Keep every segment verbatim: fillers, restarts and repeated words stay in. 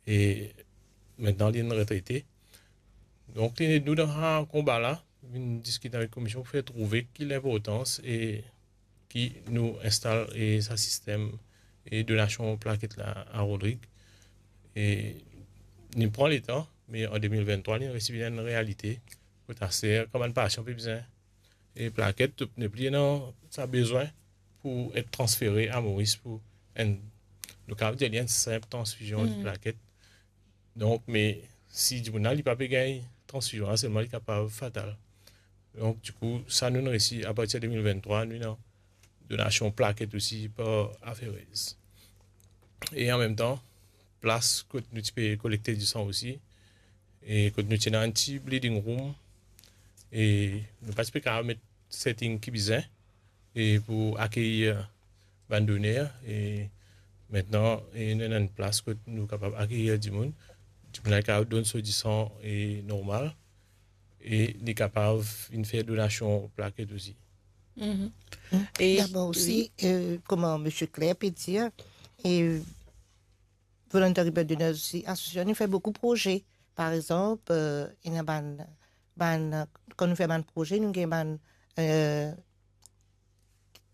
e aster li enn retrete. Donk, nou dan sa konba la, vinn diskit avek komision pou fer trouve ki linportans e ki nou instal e sa sistem e donasion plaket la a Rodrig. E li pran letan, me an de mil venntrwa, li resi vinn enn realite. Kot aster, kan bann pasian pe bizin e plaket, nepli ena sa bezwin pou et transfere a Moris pou enn, nou kapav dir li enn sinp transfizion de plaket. Donk, me si dimoun la, li pa pe gagn transfizion la, selman li kapav fatal. Donk, dikou, sa nou resi, apartir de mil venntrwa, nou ena donasion plaket osi par aferez. E anmemtan, plas kot nou ti pe kolekte disan osi, e kot nou ti ena enn ti bleeding room, e nou pa ti pe kapav met setting ki bizin, e pou akeyir bann doner, e aster, e nou ena enn plas kot nou kapav akeyir dimoun. Dimoun la kapav donn so disan e normal, e li kapav vinn fer donasion plaket osi. Mhm. E dabor osi, wi, euh, kouma Misie Claire pe dir, e Voluntary Blood Donors osi, asosiasion, nou fer boukou proze. Par exanp, euh, ena bann, bann, kan nou fer bann proze, nou gagn bann, euh,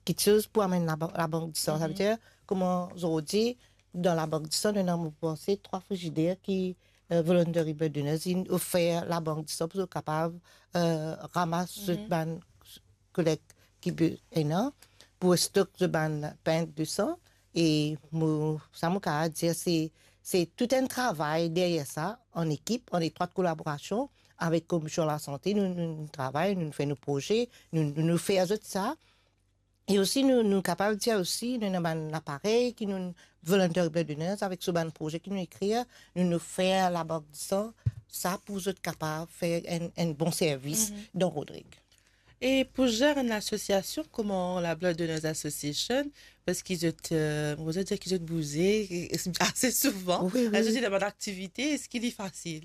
kiksoz pou amenn laba-, labank disan. Sa ve dir, kouma zordi, dan labank disan, nou ena, mo panse, trwa frizider ki, euh, Voluntary Blood Donors inn ofer labank disan pou zot kapav, euh, ramas zot bann kolek ki be-, ena, pou stok zot bann pint disan. E mo, sa mo kapav dir, se, se tou enn travay deryer sa, an ekip, an etrwat kolaborasion avek Komision Lasante, nou, nou, nou travay, nou fer nou proze, nou, nou, nou fer zot sa. E osi, nou, nou kapav dir osi, nou ena bann laparey ki nou, Voluntary Blood Donors, avek so bann proze ki nou ekrir, nou, nou fer labank disan, sa pou zot kapav fer enn, enn bon servis dan Rodrig. E pou zer enn lasosiasion kouma la Blood Donors Association, parski zot, euh, mo dir ki zot bouze, e, e ase souvan, wi, wi, zot ena bann aktivite, eski li fasil?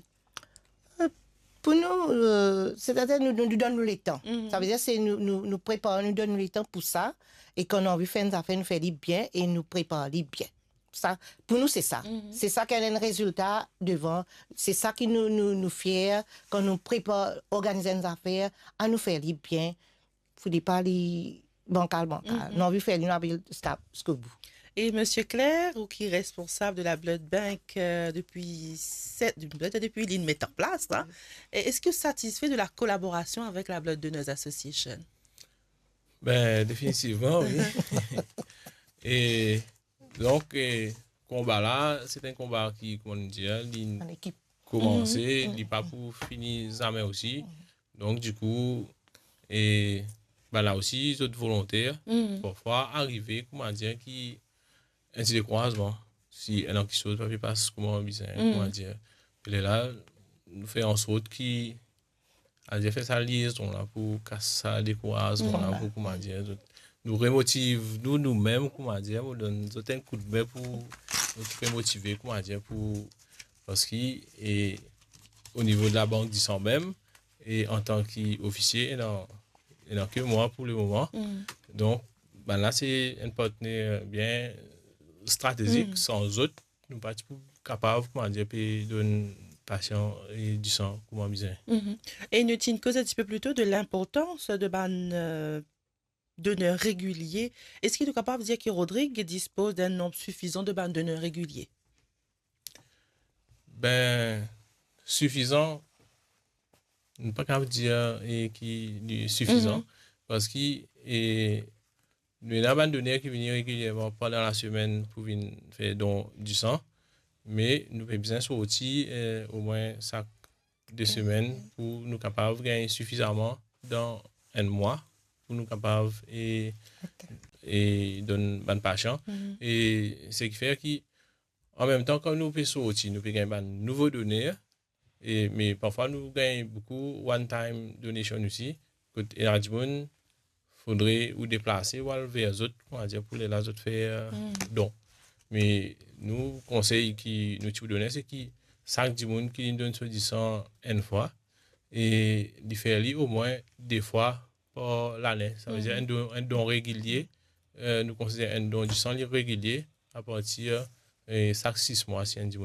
Euh, pou nou, euh, setadir nou, nou, nou donn nou letan. Sa ve dir se nou, nou, nou prepar, nou donn nou letan pou sa, e kan nou anvi fer enn zafer, nou fer li bien e nou prepar li bien. Sa, pou nou, se sa. Se sa ki donn rezilta devan. Se sa ki nou, nou, nou fier kan nou prepar, organiz enn zafer, anou fer li bien. Fode pa li bankal, bankal. Nou anvi fer li, nou anvi ziska, ziskobou. E Misie Claire, ou ki responsab de la Blood Bank, euh, depi set, depi, depi li met an plas la, e eski ou satisfe de la kolaborasion avek la Blood Donors Association? Ben, definitivman, wi. E Donk, eh, konba la, se enn konba ki, kouma nou dir, li koumanse, li pa pou fini zame osi. Donk, dikou, eh, bann la osi, zot volonter. Parfwa, arive, kouma dir, ki enn ti dekourazman. Si ena kiksoz pa pe pas kouma bizin, kouma dir. E lerla, nou fer ansort ki Adir fer sa liezon la pou kas sa dekourazman la, pou, kouma dir, zot, nou remotiv nou, noumem, kouma dir, pou donn zot enn koudme pou zot remotive, kouma dir, pou, parski, e, o nivo de labank disan mem, e antan ki ofisie, ena, ena ke mwa pou lemoman. Donk, bann la se enn partner bien stratezik, san zot, nou pa ti pou kapav, kouma dir, pe donn pasian, e, disan kouma bizin. E nou ti koz enn tipe plito de linportans de bann, euh, doner regilie. Eski nou kapav dir ki Rodrig dispoz enn nonb sifizan de bann doner regilie? Ben, sifizan, nou pa kapav dir, e, ki li sifizan, parski, e, nou ena bann doner ki vini regilierman pandan lasemenn pou vinn fer don disan, me nou pe bizin sorti, e, omwin sak de semenn pou nou kapav gagn sifizaman dan enn mwa pou nou kapav, e, e donn bann pasian. E seki fer ki, anmemtan, kan nou pe sorti, nou pe gagn bann nouvo doner, e, me parfwa nou gagn boukou one time donation osi, kot ena dimoun, fodre ou deplase, ou al ver zot, kouma dir, pou lerla zot fer, euh, don. Me nou, konsey ki nou ti pou done, se ki sak dimoun ki vinn donn so disan enn fwa, e li fer li omwin de fwa par lane. Sa ve dir enn don, enn don regilie, euh, nou konsider enn don disan li regilie, apartir, e, sak sis mwa, si enn dimoun